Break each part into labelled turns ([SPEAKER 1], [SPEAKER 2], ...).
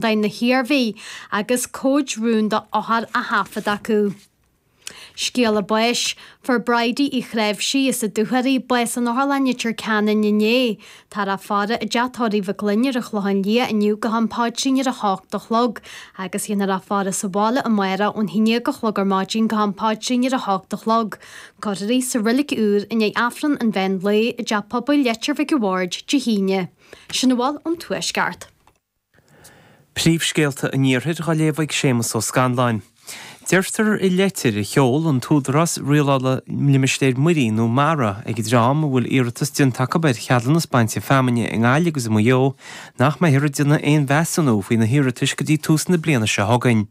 [SPEAKER 1] Na hIarmhí agus comhaid rúnda othar á thaifead acu. Scéala báis, Fuair Bridie Uí Chnáimhsí as an Dúchoraidh bás in Otharlann Leitir Ceanainn inné. Táthar á faire i dteach tórraimh Mhic Fhloinn ar an Chlochán Liath inniu go ham paidrín ar a hocht a chlog agus dhéanfar á faire sa bhaile amárach ón haon déag a chlog ar maidin go ham paidrín ar a hocht a chlog. Cuirfear í sa reilig úr i ndiaidh Aifreann an mheán lae i dTeach Pobail Leitir Mhic a' Bhaird Dé hAoine. Sin a bhfuil ón Tuaisceart.
[SPEAKER 2] Príomhscéalta an Iarthair á léamh ag Séamus Ó Scanláin. Deirtear i leitir a sheol an tÚdarás Rialála Limistéir Muirí nó MARA ag an dream a bhfuil iarratas déanta acu ar cheadúnas bainte feamainne i nGaillimh agus i Maigh Eo nach mbeifear ag déanamh aon mheasúnú faoi na hiarratais go dtí tús na bliana seo chugainn.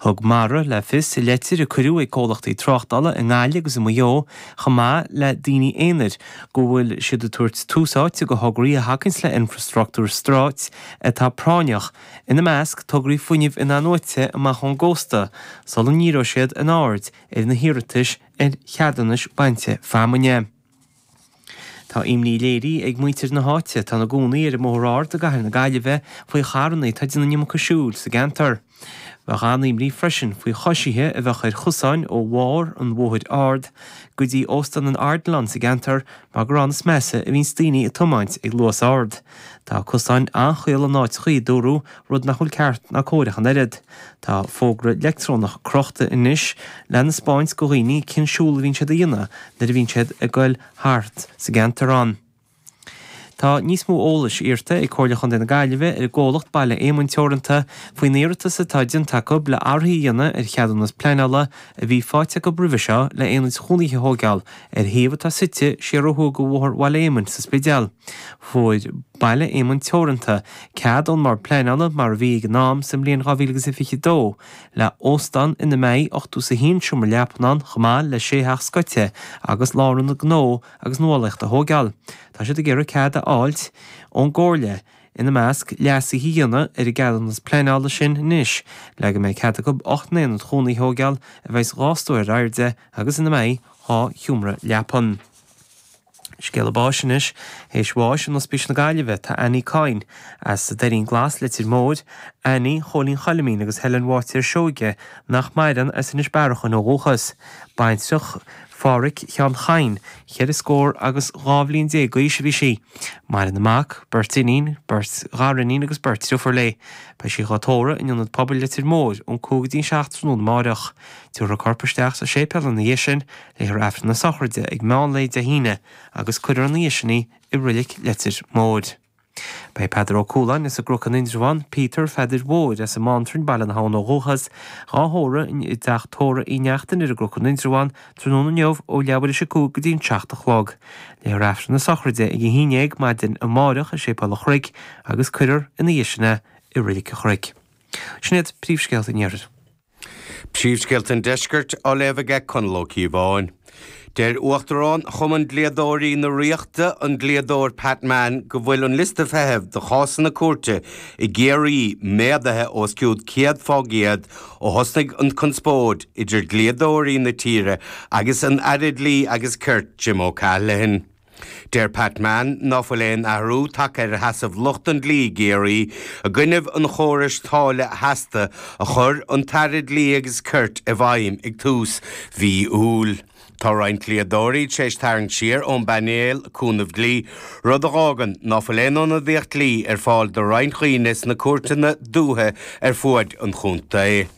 [SPEAKER 2] Thug MARA le fios i leitir a cuireadh ag comhlachtaí tráchtála i nGaillimh agus i Maigh Eo chomh maith le daoine aonair go bhfuil siad ag tabhairt tús áite do thograí a thacaíonns le infreastruchtúr stáit atá práinneach, ina measc tograí fuinnimh in-athnuaite amach ón gcósta, sula ndíreoidh siad a n-aird ar na hiarratais ar cheadúnais bainte feamainne. Tá imní léirithe ag muintir na háite atá ina gcónaí ar an mBóthar Ard i gcathair na Gaillimhe faoi charranna atá ag déanamh an iomarca siúil sa gceantar. Bheadh an-imní freisin faoi choisithe a bheadh ar chosáin ó bharr an Bhóthair Ard go dtí Óstán an Ardilaun sa gceantar mar gur ann is measa a bhíonns daoine ag tiomáint ag luas ard. Tá cosáin an-chaol in áiteachaí, a dúradh, rud nach bhfuil ceart ná cóir ach an oiread. Tá fógra leictreonach crochta anois lena 'spáint go dhaoine cén siúl a bhíonn siad a dhéanamh nuair a bhíonn siad ag goil thart sa gceantar ann. Tá níos mó eolais iarrta ag Comhairle Chontae na Gaillimhe ar an gcomhlacht Baile Éamoinn Teoranta faoin iarratas atá déanta acu le athruithe a dhéanamh ar cheadúnas pleanála a bhí faighte acu roimhe seo le aonaid chónaithe a thóigeáil ar shuíomh atá suite siar ó thuaidh de Bhóthar Bhaile Éamoinn sa Spidéal. Fuair Baile Éamoinn Teoranta cead ón mBord Pleanála mar a bhí ag an am sa mbliain 2022 le óstán ina mbeidh 81 seomra leapan ann chomh maith le sé theach scoite agus lárionad gnó agus nuálaíochta a thóigeáil. Tá siad ag iarraidh cead a fháilt ón gComhairle, ina measc, leasuithe a dhéanamh ar an gceadúnas pleanála sin anois le go mbeidh cead acu 8 n-aonad chónaithe a thóigeáil a bheidh 2 stór ar airde agus ina mbeidh 2 sheomra leapan. Scéala báis anois. Théis bháis in Ospís na Gaillimhe tá Annie Coyne as an Doirín Glas, Leitir Móir, Annie Chóilín Choilimín agus Helen Bháitéar Seoige nach maireann as Inis Bearachain ó dhúchas. Baintreach Phádhraic Sheáin Chadhain, cheithre scór agus 12 bhliain d'aois a bhí sí. Maireann a mac, beirt iníon, beirt ghariníon agus beirt driofúr léi. Beidh sí dhá tórramh in Ionad Pobail Leitir Móir ón 5 go dtí an 7 tráthnóna amáireach. Tabharfar a corp isteach sa séipéal ina dhiaidh sin, léifear Aifreann na sochraide ag meán lae Dé hAoine agus cuirfear ina dhiaidh sin í i Roilic Leitir Móir. Beidh Peadar Ó Cualáin as an gCnoc in Indreabhán, Peter Pheadair Mhóir as an mBántrainn, Baile na hAbhann ó dhúchas, dhá thórramh i dteach tórraimh Uí Neachtain ar an gCnoc in Indreabhán tráthnóna inniu ó leathuair théis a 5 go dtí an 7 a chlog. Léifear Aifreann na sochraide ag a 11 maidin amáireach i Séipéal an Chnoic agus cuirfear ina dhiaidh sin é i Roilic an Chnoic. Sin iad príomhscéalta an Iarthair.
[SPEAKER 3] Príomhscéalta an Deiscirt á léamh aige Conall Ó Cíobháin. Deir Uachtarán Chumann Dlíodóirí na Ríochta, an dlíodóir Pat Mann, go bhfuil an liosta feithimh do chásanna cúirte i gCiarraí méadaithe os cionn 100% ó thosnaigh an conspóid idir dlíodóirí na tíre agus an Aire Dlí agus Cirt Jim O'Callaghan. Deir Pat Mann ná fuil aon athrú tagtha ar sheasamh lucht an dlí i gCiarraí i gcoinnibh an chórais táille sheasta a chuir an tAire Dlí agus Cirt i bhfeidhm ag tús mhí Iúil. Tá roinnt dlíodóirí tar éis tarraingt siar ón bpainéal cúnamh dlí, rud a dh'fhágann ná fuil aon ionadaíocht dlí ar fáil do roinnt dhaoine sna cúirteanna dúiche ar fuaid an chontae.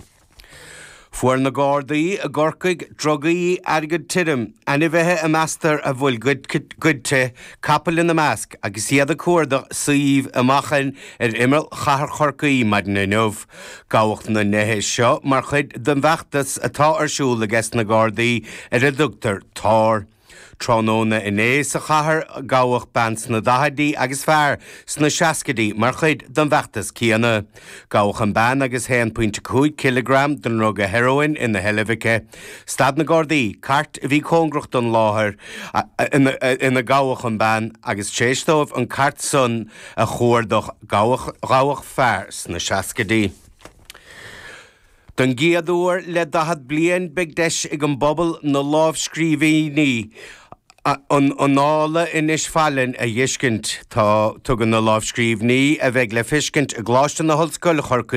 [SPEAKER 3] Fuair na Gardaí i gCorcaigh drugaí, airgead tirim, ainmhithe a meastar a bhfuil goidte, capaill ina measc, agus iad ag cuardach suímh i Machain ar imeall chathair Chorcaí maidin inniu. Gabhadh na nithe seo mar chuid den bhfeachtas atá ar siúl ages na Gardaí ar a dtugtar 'Tár'. Tráthnóna inné sa chathair gabhadh bean sna daichidí agus fear sna seascaidí mar chuid den bhfeachtas céanna. Gabhadh an bean agus 1.5 cileagram den ndruga heroin ina sheilbh aici. Stad na Gardaí cairt a bhí cóngarach don láthair ina gabhadh an bean agus tar éis dóibh an cairt san a chuardach gabhadh fear sna seascaidí. Don gcéad uair le 40 bliain beidh deis ag an bpobal na lámhscríbhinní. An Annála Inis Failinn a dh'fheiscint. Tá, tugann na lámhscríbhinní a bheidh le feiscint i gColáiste na hOllscoile Chorcaí.